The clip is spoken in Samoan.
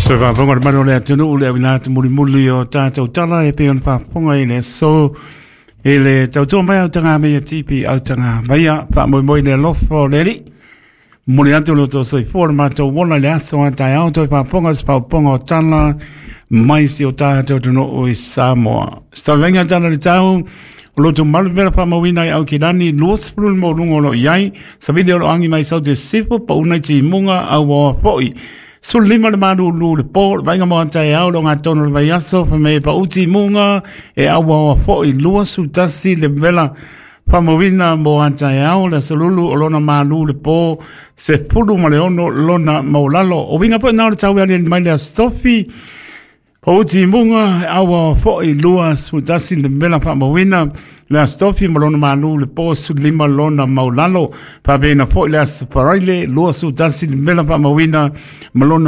Se faafofoga le mamalu o le atunuu le auina atu mulimuli o tatou tala e pei ona faafofoga i le aso i le tautua mai autaga TV autaga maia faamoemoe i le alofa o le Alii. Momoli atu lo outou soifua le matou ola i le aso a taeao toe faafofoga se faafofoga o tala mai si o tatou atunuu i Samoa. Savaiga tala le tau o lo malu mela faamauina i Aukilani 20 le maualuga o lo o i ai, savili o lo o agi mai saute sifo pauna i timuga auaoa foi. 15 le malulu le po, le vaaiga mo taeao lo gatonu le vaiaso, fa me pa uti munga e auaoa foi 21 le mela faamauina mo taeao le asolulu o lona malu le po 16 lona maulalo. O winga po na o le tau ali mai le astofi, Pauti munga aua foi 21 le mela faamauina le astofi ma lona malu le po 15 lona maulalo. Faapena foi le aso Faraile 21 le mela faamauina ma lona